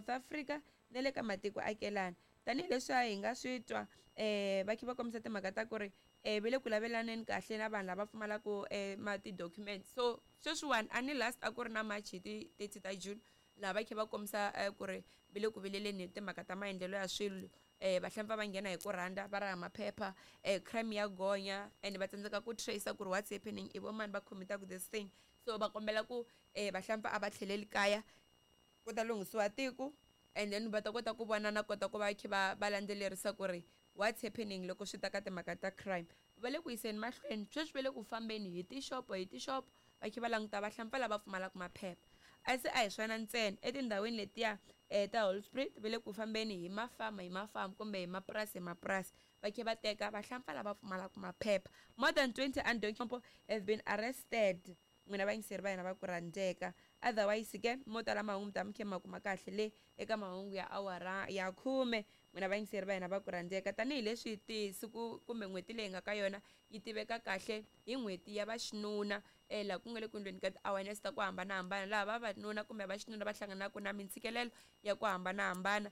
South Africa na le ka matiko akelana. Tanihileswi a hi nga swi twa va kha va kombisa timhaka ta ku ri va le ku lavelaneni kahle na vanhu lava pfumalaka ma ti-document. So sweswiwani a ni last a ku ri na March hi ti 30 ta June, laha va kha va kombisa ku ri va le ku vileleni hi timhaka ta maendlelo ya swilo. Vahlampfa va nghena hi ku rhandza, va raha maphepha, crime ya gonya, and va tsandzeka ku trace ku ri what's happening, i vo mani va commitaka this thing. So va kombela ku vahlampfa a va tlheleli kaya, ku ta lunghisiwa tiko, and then va ta kota ku vona na kota ku va kha va landzelerisa ku ri what's happening loko swi ta ka timhaka ta crime. Va le ku yiseni mahlweni sweswi, va le ku fambeni hi tixopo hi tixopo, va kha va languta vahlampfa lava pfumalaka maphepha. A se a hi swona ntsena, etindhawini letiya ta Holspruit va le ku fambeni hi mafama hi mafama kumbe hi mapurasi hi mapurasi, va kha va teka vahlampfa lava pfumalaka maphepha. More than 20 undocumented have been arrested, n'wina vayingiseri va hina va ku rhandzeka. Otherwise ke, mo tala mahungu mi ta mi khe ma kuma kahle le eka mahungu ya awara ya 10, n'wina vayingiseri va hina va ku rhandzeka. Tanihileswi tisiku kumbe n'hweti leyi nga ka yona yi tiveka kahle hi n'hweti ya vaxinuna, laha ku nga le ku endleni ka ti-awareness ta ku hambanahambana, laha vavanuna kumbe vaxinuna va hlanganaka na mintshikelelo ya ku hambanahambana.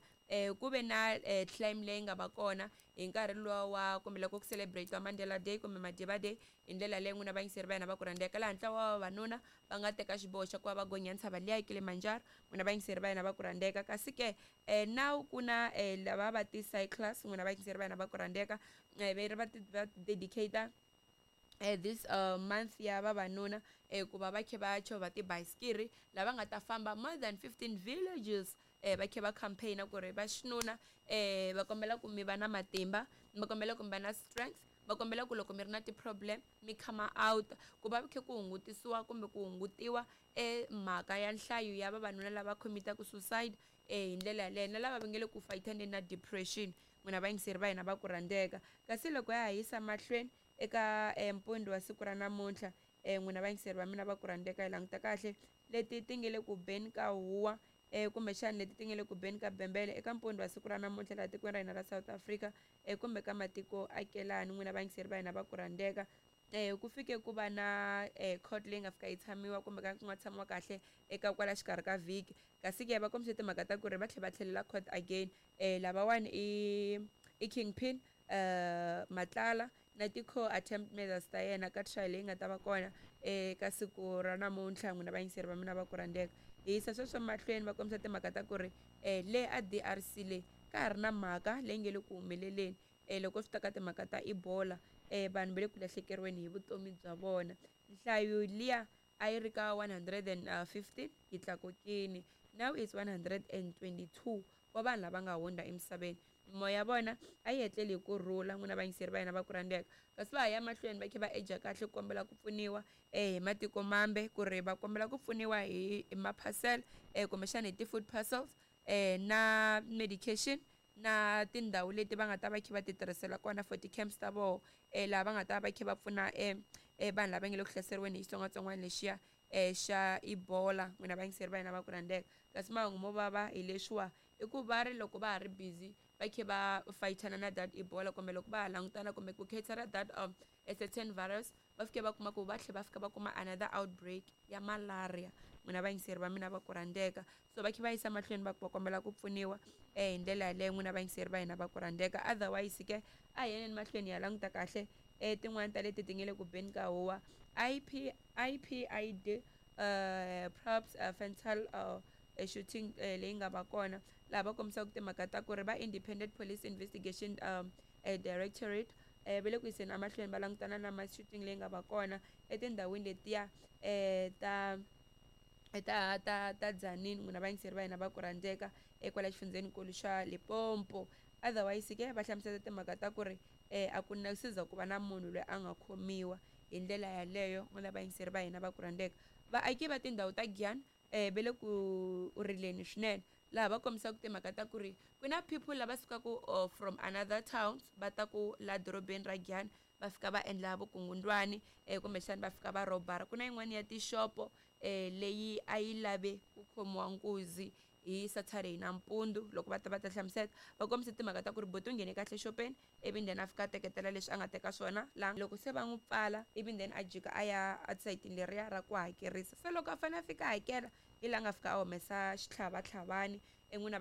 Ku ve na claim leyi nga va kona hi nkarhi luwa wa kumbe loko ku celebrate Mandela Day kumbe Madiba Day hi ndlela leyi, n'wina vayingiseri va hina va ku rhandzeka, laha ntlawa wa vavanuna va nga teka xiboho xa ku va va gonya ntshava liya Kilimanjaro, n'wina vayingiseri va hina va ku rhandzeka. Kasi ke now ku na lava va ti-cyclers, n'wina vayingiseri va hina va ku rhandzeka, va va dedicate this month ya vavanuna ku va va kha va chovha tibayisikiri, lava nga ta famba more than 15 villages, va kha va campaign ku ri va xinuna va kombela ku mi va na matimba, va kombela ku mi va na strength, va kombela ku loko mi ri na ti-problem mi come out, ku va kha ku hungutisiwa kumbe ku hungutiwa mhaka ya nhlayo ya vavanuna lava commitaka suicide hi ndlela yaleyo, na lava va nge le ku fayithaneni na depression, n'wina vayingiseri va hina va ku rhandzeka. Kasi loko ya ha yisa mahlweni eka mpundzu wa siku ra namuntlha, n'wina vayingiseri va mina va ku rhandzeka, hi languta kahle leti ti nge le ku beni ka huwa, kumbexana leti ti nge le ku beni ka bembele eka mpundzu wa siku ra namuntlha laha tikweni ra hina ra South Africa kumbe ka matiko akelani, n'wina vayingiseri va hina va ku rhandzeka. Ku fike ku va na court leyi nga fika yi tshamiwa kumbe ka ku nga tshamiwa kahle eka kwala xikarhi ka vhiki. Kasi ke va kombise timhaka ta ku ri va tlhela va tlhelela court again. Lavawani i Kingpin Matlala na ti-co-attempt murders ta yena ka trial leyi nga ta va kona eka siku ra namuntlha, n'wina vayingiseri va mina va ku rhandzeka. Hi yisa sweswo mahlweni, va kombisa timhaka ta ku ri le a DRC le ka ha ri na mhaka leyi nge le ku humeleleni loko swi ta ka timhaka ta Ebola, vanhu va le ku lahlekeriweni hi vutomi bya vona. Nhlayo liya a yi ri ka 115 yi tlakukini, now is 122 wa vanhu lava nga hundza emisaveni. Mimoya ya vona a yi hetleli hi ku rhula, n'wina vayingiseri va hina va ku rhandzeka. Kasi va ha ya mahlweni va kha va eja kahle ku kombela ku pfuniwa hi matiko mambe, ku ri va kombela ku pfuniwa hi maphasela, kumbexana hi ti-food parcels, na medication, na tindhawu leti va nga ta va kha va ti tirhisela kona for ti-camps ta voho, laha va nga ta va kha va pfuna vanhu lava nge le ku hlaseriweni hi xitsongwatsongwana lexiya xa Ebola, n'wina vayingiseri va hina va ku rhandzeka. Kasi mahungu mo vava hi leswiwa i ku va ri loko va ha ri busy va kha va fayithana na that Ebola, kumbe loko va ha langutana kumbe ku cater that a certain virus, va fike va kuma ku va tlhela va fika va kuma another outbreak ya malaria, n'wina vayingiseri va mina va ku rhandzeka. So va kha va yisa mahlweni va kombela ku pfuniwa hi ndlela yaleyo, n'wina vayingiseri va hina va ku rhandzeka. Otherwise ke, a hi yeneni mahlweni hi ya languta kahle tin'wani ta leti ti nge le ku beni ka huwa. IP IPID props fatal shooting leyi nga va kona, laha va kombisaka timhaka ta ku ri va Independent Police Investigation Directorate va le ku yiseni emahlweni va langutana na mass shooting leyi nga va kona etindhawini letiya ta Tzaneen, n'wina vayingiseri va hina va ku rhandzeka, ekwala xifundzenikulu xa Limpopo. Otherwise ke, va hlamusela timhaka ta ku ri a ku na siza ku va na munhu loyi a nga khomiwa hi ndlela yaleyo, n'wina vayingiseri va hina va ku rhandzeka. Vaaki va tindhawu ta Giyani va le ku rileni swinene, laha va kombisaka timhaka ta ku ri ku na people lava sukaka from another towns va ta ku la dorobeni ra Giyani, va fika va endla vukungundwani, kumbexana va fika va robara. Ku na yin'wani ya tixopo leyi a yi lave ku khomiwa nkuzi hi Saturday nampundzu. Loko va ta va ta hlamusela, va kombise timhaka ta ku ri buti u nghene kahle xopeni, ivi then a fika a teketela leswi a nga teka swona laha. Loko se va n'wi pfala, ivi then a jika a ya esayitini leriya ra ku hakerisa. Se loko a fanele a fika a hakela, hi laha a nga fika a humesa xitlhavatlhavani, n'wina.